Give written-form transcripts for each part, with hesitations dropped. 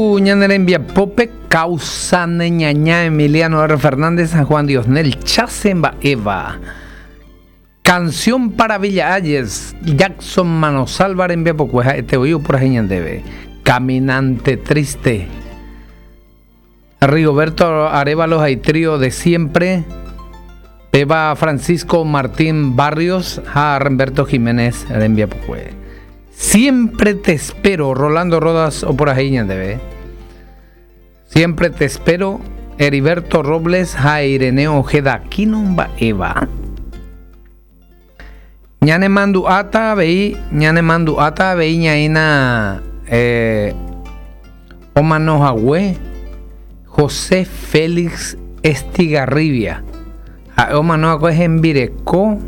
Ñane rembiapópe causa ne ñaña Emiliano R. Fernández ha Juan Diosnel Chase mba'éva. Canción para Villa Hayes, Jackson Manosalva rembiapokue ha'ete voi opurahéi ñandéve. Caminante triste. Rigoberto Arévalo ha itrío de siempre. Péva Francisco Martín Barrios ha Remberto Jiménez rembiapokue. Siempre te espero, Rolando Rodas opurahéi ñandéve. Siempre te espero, Heriberto Robles ha Ireneo Ojeda Aquino mba'éva. Ñanemandu'áta avei, ñanemandu'áta avei ñaína eh, omano hague José Félix Estigarribia. Ha'e omano va'ekue hembireko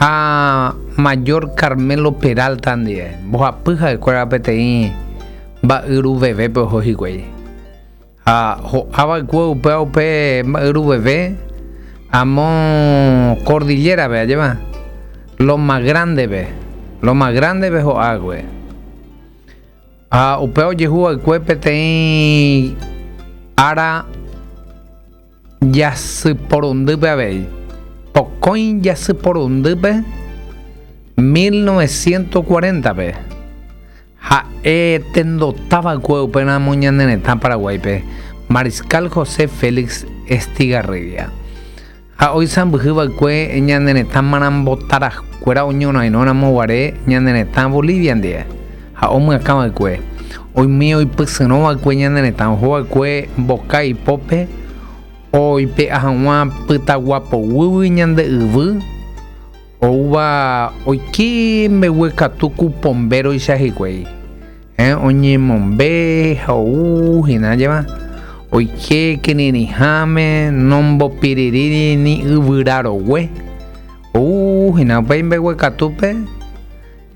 ha Mayor Carmelo Peralta ndive. Mbohapy ha'ekuéra peteĩ mba'yruvevépe oho hikuái. Ha ho'a va'ekue upéva upe mba'yruveve amo Cordillera-pe, ajépa? Loma Grande-pe. Loma Grande-pe ho'a va'ekue. Ha upéva ojehu va'ekue peteĩ ára jasyporundýpe avei. Pokõi jasyporundýpe 1940-pe. Ha'e tendota va'ekue upéramo ñane retã Paraguáipe, Mariscal José Félix Estigarribia. Ha oisãmbyhy va'ekue ñane retã marambotarakuéra oñorairõramo guare ñane retã Bolivia ndive, ha omyakã va'ekue. Oime oipysyrõ va'ekue ñane retã oho va'ekue mboka ipópe oipe'a hag̃ua pytagua poguýgui ñande yvy, Oúva oike mbeguekatu ku pombéroicha hikuái. Eh, oñemombe ha ou hína ajéva. Oike kirirĩháme nombopirirĩri ni yvyra rogue. Ou hína upéi mbeguekatúpe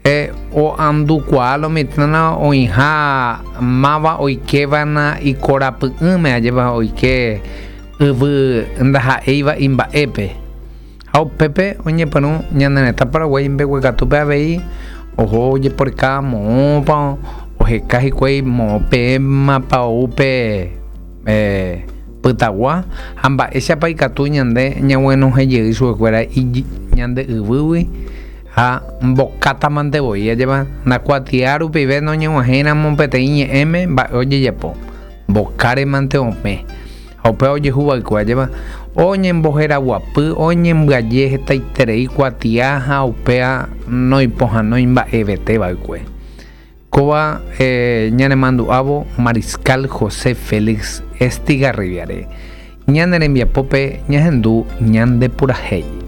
eh, oandukuaa lo mitãna oĩha máva oikévana ikorapy'ỹme ajépa oike yvy ndaha'éiva imba'épe. Ha upépe oñepyrũ ñane retã Paraguái mbeguekatúpe avei oho ojeporeka moõpa oheka hikuái moõ peẽmapa ou pe pytagua ha mba'éichapa ikatu ñande ñaguenohẽ jey chupekuéra ñande yvýgui ha mbokátamante voi ajépa ndakuatia rupive noñeg̃uahẽiramo peteĩ ñe'ẽme mba'e ojejapo mbokáremante opẽ. Ha upéva ojehu va'ekue, ajépa, oñemboheraguapy, oñembyaje hetaiterei kuatia ha upéva noipohãnói mba'evete va'ekue. Kóva ñanemandu'ávo Mariscal José Félix Estigarribia-re, ñane rembiapópe ñahendu ñande purahéi.